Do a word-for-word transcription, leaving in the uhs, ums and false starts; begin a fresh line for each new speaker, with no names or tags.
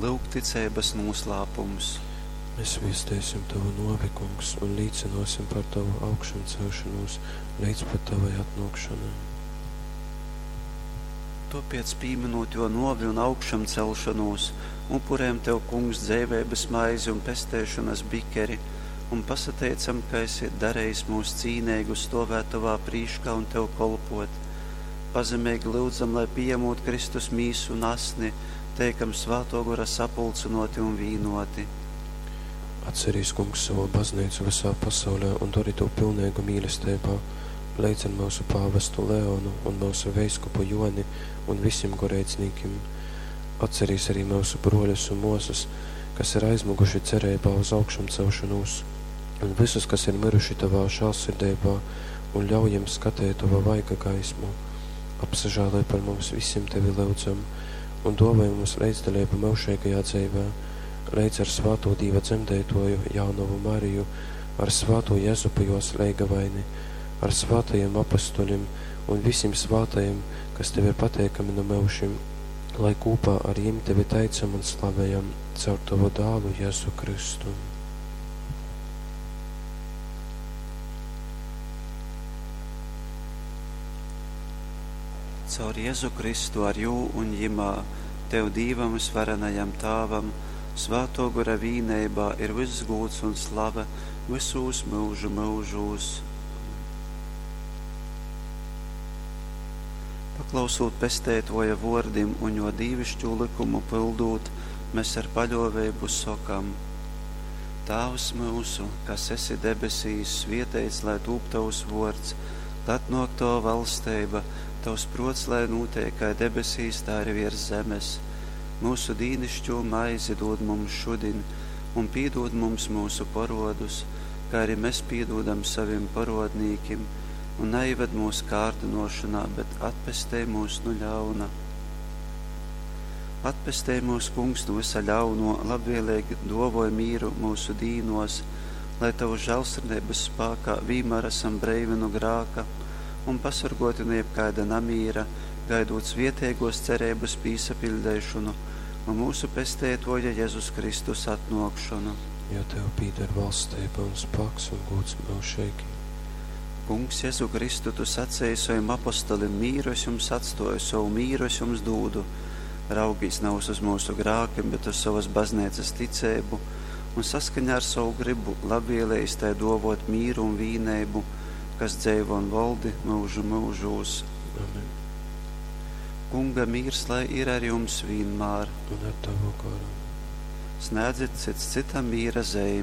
Lyuk ticeibas nūslāpums.
Mēs viesteisim tavu nōvi, Kungs, un līcynōsim par tavu augšamceļšonūs leidz pat tavai atnōkšonai.
Tōpēc, pīmynūt jō nōvi un augšamceļšonūs, upurejam tev, Kungs, dzeiveibas maizi un pesteišonas bikeri un pasateicam, ka esi darejis myus cīneigus stōvēt tovā prīškā un tev kolpōt. Pazemeigi lyudzam, lai, pījamūt Kristus mīsu un asni, teikam Svātō Gora sapulcynōti un vīnōti.
Atcerīs, Kungs, sovu bazneicu vysā pasaulē un dori tū pilneigu mīlesteibā, leidz ar myusu pāvestu Leonu un myusu veiskupu Jōni un visim goreidznīkim. Atcerīs arī myusu brōļus un mōsas, kas ir aizmyguši cereibā uz augšamcelšonūs, un visus, kas ir myruši tovā žālsirdeibā, un ļauj jim skateit tova vaiga gaismu. Apsažāloj par mums visim, tevi lyudzam, un dōvoj mums leidzdaleibu myužeigajā dzeivē, leidz ar svātū Dīva dzemdeitōju Jaunovu Mariju, ar svātū Jezupu jōs leigavaini, ar svātajim apostolim un visim svātajim, kas tev ir pateikami nu myužim, lai kūpā ar jim tevi teicam un slavejam caur tovu dālu Jēzu Kristu.
Caur Jezu Kristu ar jū un jimā, tev Dīvam vysvarenajam Tāvam, Svātō Gora vīneibā ir vyss gūds un slava vysūs myužu myužūs. Paklausūt Pesteitōja vōrdim un jō dīviškū lykumu pyldūt, mēs ar paļōveibu sokam: Tāvs myusu, kas esi debesīs, svieteits lai tūp tovs vōrds, lai atnōk tova valsteiba, tavs prōts lai nūteik kai debesīs, tā arī viers zemes. Myusu dīnišķū maizi dūd mums šudiņ, un pīdūd mums myusu porōdus, kā arī mēs pīdūdam savim porōdnīkim, un naieved mūsu kārdinošanā, bet atpestej mūs nu ļauna. Atpestej mūs, Kungs, nu visa ļauno, labvēlīgi dōvoj mīru mūsu dīnos, lai tavu žēlsirdības spākā vīmēr esam breivi nu grāka un pasorgoti no jebkaida namīra, gaidot svietēgos cerības pīsapiļdeišonu un mūsu pesteitoja Jēzus Kristus atnōkšonu.
Jo tev pīder valstība un spāks un gods mūžīgi.
Kungs, Jēzu Kristu, tu sacēji saviem apostolim, mīru es jums atstoju, savu mīru es jums dūdu. Raugīs nav uz mūsu grākiem, bet uz savas baznīcas ticēbu un saskaņā ar savu gribu labvēlējis tai dovot mīru un vīneibu, kas dzeivo un valdi mūžu mūžūs.
Amen.
Kunga mīrs lai ir ar jums vienmēr.
Un ar tavu garu.
Snēdzit cits citam mīra zeimi.